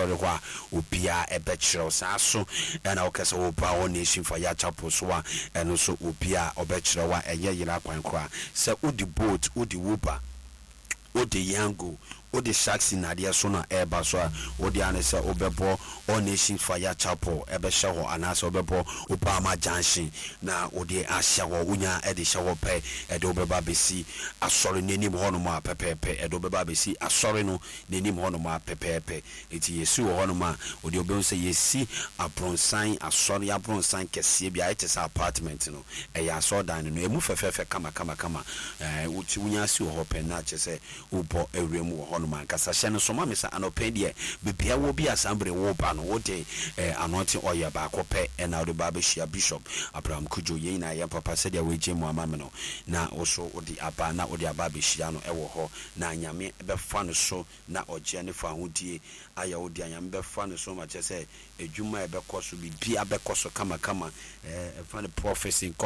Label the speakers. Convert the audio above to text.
Speaker 1: asɔre hɔ a, obiara ɛbɛkyerɛ wo. Saa so ɛna wokɛ sɛ woba All Nation Fire Chapel so a, ɛno nso obiara ɔbɛkyerɛ wo a ɛnyɛ yera kwan koraa. Sɛ wode boat, wode Uber, wode Yango, wode Shaxi nnadeɛ so na ɛreba so a, wo dea ne sɛ wobɛbɔ All Nations Fire Chapel bɛhyɛ hɔ anaasɛ wobɛbɔ Obama Junction na wode ahyɛ hɔ. Wonya de hyɛ hɔ pɛ, ɛde wo bɛba abɛsi asɔre no anim hɔnom a pɛpɛɛpɛ. Ɛde wo bɛba abɛsi asɔre no n'anim hɔnom a pɛpɛɛpɛ. Enti yɛsi wɔ hɔnom a, wo deɛ wobɛhu sɛ yɛsi abronsan, asɔre abronsan kɛseɛ bi, ayɛ te sɛ apartment no. Ɛyɛ asɔredan no no, ɛmu fɛfɛɛfɛ kamakamakama. Ɛɛ, wo ti wonya si wɔ hɔ pɛ na kyerɛ sɛ wobɔ awura mu wɔ hɔnom ankasa. Hyɛ no nso ma me sɛ anɔpa yi deɛ, baabi a wɔ bi a saa bere woreba no, wode eh, anointing oil baako pɛ na wode ba abɛhyia Bishop Abraham Cudjoe. Yɛn nyinaa yɛn papa sɛdeɛ woagye mu ama me no, na wo nso wode aba na wode aba abɛhyia no wɔ hɔ. Na Nyame bɛfa no so na ɔgyeɛ ne fahodie ayɛ wo dea. Nyame bɛfa no so ma kyerɛ sɛ adwuma a ɛbɛkɔ so, biribiara bɛkɔ so kamakama. Ɛɛ, ɛfa no prophecy nkɔ.